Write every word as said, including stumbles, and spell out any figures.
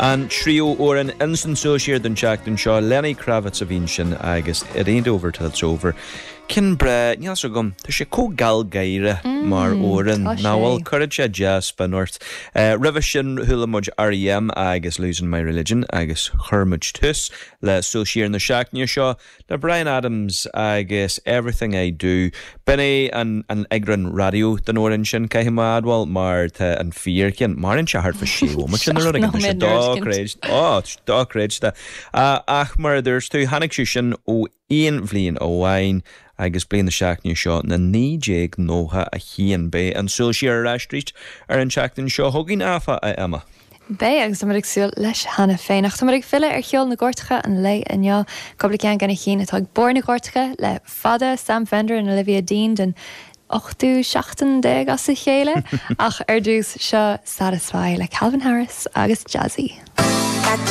An tríú amhrán insan Súil Siar don tseachtain seo Lenny Kravitz a bhí ansin agus It Ain't Over Till It's Over. Ceann breá níl a fhios agam tá sé chomh gealgháireach mar amhrán tá nach sé. bhfuil cuireann sé dea-spion ort. Uh, Roimhe sin chuala muid R.E.M. agus Losing My Religion agus chuir muid tús le Súil Siar na seachtaine seo le Bryan Adams agus Everything I Do. B'in é an an eagrán raidió den amhrán sin caithfidh mé a admháil mar tá an fíorcheann maireann sé thart fá sé sin nóiméad dá dochreidte ach mar a dúirt tú tháinig sé sin ó aon bhliain amháin agus bliain na seachtaine seo na naoi déag nócha a haon beidh an Súil Siar ar ais ar an tseachtain seo chugainn áfach a Emma. Beidh agus táimid ag súil leis cheana féin ach táimid ag filleadh ar cheol na gcairteacha an lae inniu cúpla ceann de na cinn atá ag barr na gcairteacha le fada Sam Fender and Olivia Dean den ochtú seachtain déag as a chéile ach ar dtús seo Satisfy le Calvin Harris agus Jazzy.